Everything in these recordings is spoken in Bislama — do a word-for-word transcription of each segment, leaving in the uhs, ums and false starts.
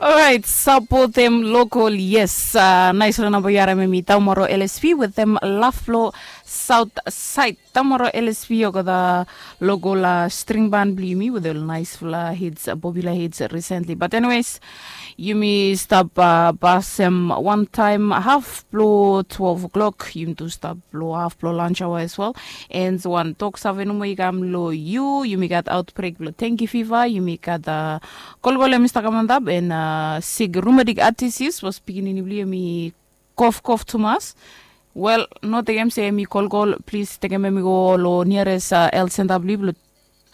Orait, sapotem lokol, yes. Nais long namba yu harim em i Taumaro L S P wetem Laflo South Side. Taumaro L S P olgeta lokol string ban blong yumi with ol naispela hits, popular hits recently. But anyways, yumi stap pasem wantaem haf blong twelve o'clock. Yumi tu stap blong haf blong lunch hour as well. And wan tok save nomo i kam long yu, yumi gat outbreak blong dengue fever, yumi gat kolkol em i stap kam antap, and sik rheumatic arthritis, was pikinini blong yu em i kofkof tumas. Wel, no tekem se em i kolkol, plis tekem em i go long nearest health center blong yu blong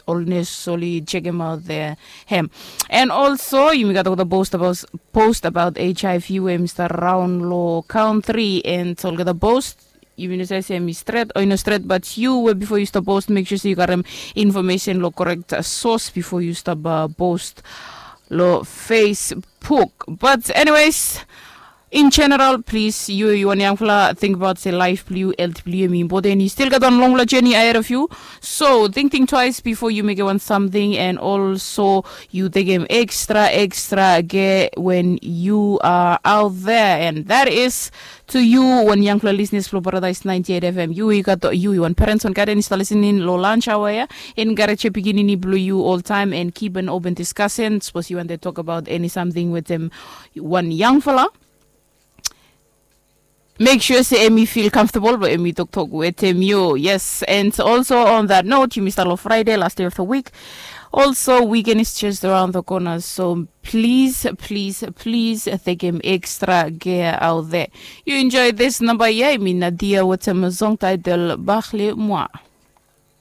ol nes oli chekem aut the hem. And also yumi gat olgeta post about, post about H I V we yumi stap raun long country, and olgeta post yumi no save se em i stret o i no stret, but yu we bifo yu stap post, make sure se yu karim information long correct source bifo yu stap post long Facebook. But anyways, in general, plis, yu, yu wan yangfala, tingbaot se laef blong yu, health blong yu em i impoten. Yu stil gat wan longfala journey ahead of yu. So think, think twice before yu mekem wan samting, and also yu tekem extra, extra care when you are out there. And that is to you, wan yangfala listeners blong Paradise ninety-eight F M. Yu, yu gat, yu, yu wan parents, wan guardian i stap listening long lunch hour ya, encourage pikinini blong yu oltaem and keep an open discussion. Sapos yu wantem tokbaot eni samting wetem wan yangfala, make sure se em i feel comfortable blong em i toktok wetem yu. Yes, and also on that note, yumi stap long Friday, last day of the week. Also, weekend is just around the corner, so please, please, please tekem extra care out there. Yu enjoy this namba ya, em i Nadia wetem song title Bakhle Mwa.